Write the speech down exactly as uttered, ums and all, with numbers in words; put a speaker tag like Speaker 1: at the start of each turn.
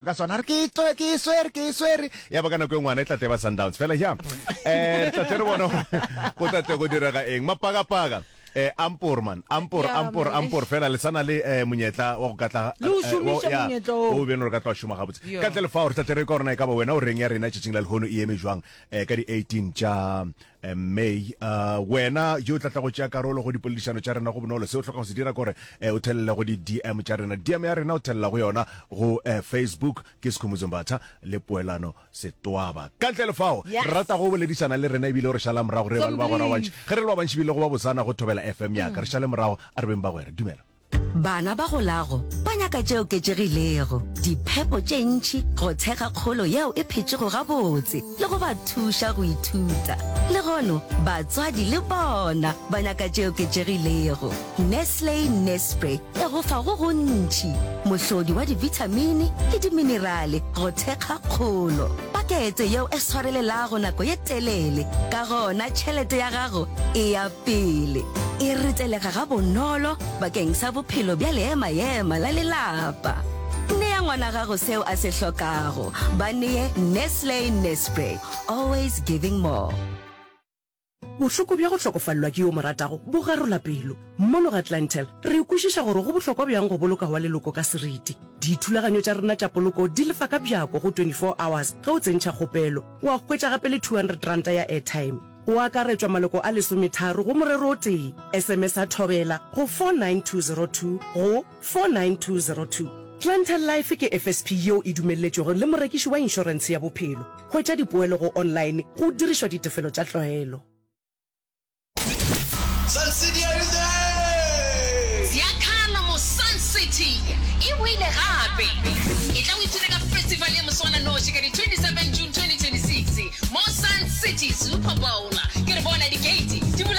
Speaker 1: Ka sona re ke tlo ke swere ke swere ya ba ka nako e ngwana e tla tle ba Sundowns fela ya eh tla tle re bona go tla tle go direga eng mapakapaka eh ampor man ampor
Speaker 2: Yeah,
Speaker 1: ampor
Speaker 2: man.
Speaker 1: ampor fela le sana le eh, monyetla wa go ka tla
Speaker 2: Le o
Speaker 1: eh,
Speaker 2: šomiša
Speaker 1: wa- ya,
Speaker 2: monyetla oo.
Speaker 1: o bene re ka tla šoma gabotse
Speaker 2: Yeah.
Speaker 1: ka ntle le fao re tla tle re ka gorena e ka ba wena o reng ya rena tšatšing la lehono e eme jwang eh, ka di eighteen tša eh, May. uh, wena yo tla tla go tšea karolo go dipoledišano tša rena, go bonolo. Se o hloka go se dira kore eh, o thelele go di-D M tša rena. D M ya rena o thelela go yona go eh, Facebook ke Sekhumutso Mbatha le Poelano Setwaba. Ka ntle le fao
Speaker 2: Yes.
Speaker 1: re rata go boledišana le rena ebile o re šala morago re ba le bagwera ba bantši. Ge re le ba bantši ebile go ba bosana go Thobela F M yaka re šale morago, a re beng bagwera. Dumela.
Speaker 3: Bana ba golago ba nyaka tše oketšegilego, diphepo tše ntši go thekga kgolo yeo e phetšego gabotse le go ba thuša go ithuta. Lehono batswadi le bona ba nyaka tše oketšegilego. Nestle Nespre e go fa go gontši, mohlodi wa dibithamini le diminerale go thekga kgolo. Pakete yeo e swarelelago nako ye telele, ka gona tšhelete ya gago e ya pele. E retelega ga bonolo bakeng sa bophelo bja leema-ema la lelapa. Nea ngwana gago seo a se hlokago. Ba nee Nestle Nespre. Always giving more.
Speaker 4: Bohloko bja go hlokofalelwa ke yo mo ratago bo garola pelo. Mono ga Clientele re kwešiša gore go bohlokwa bjang go boloka wa leloko ka seriti. Dithulaganyo tša rena tša poloko di lefa ka bjako go twenty-four hours ge o tsentšha kgopelo, wa hwetša gape le two hundred ranta ya airtime. Go akaretšwa maloko a lesometharo go morero o tee. S M S a Thobela go four nine two zero two go four nine two zero two. Clientele Life ke F S P yeo e dumelletšwego le morekiši wa inšorentshe ya bophelo. Hwetša dipoelo go online go dirišwa ditefelo tša tlwaelo.
Speaker 5: Sun City, are you there?
Speaker 6: Ziakhala mo Sun City e boile gape. E tla o ipshine ka festival ya moswananoši ka di twenty-seven June twenty twenty-six mo Sun City Super Bowl. Ke re bona di-gate di bula.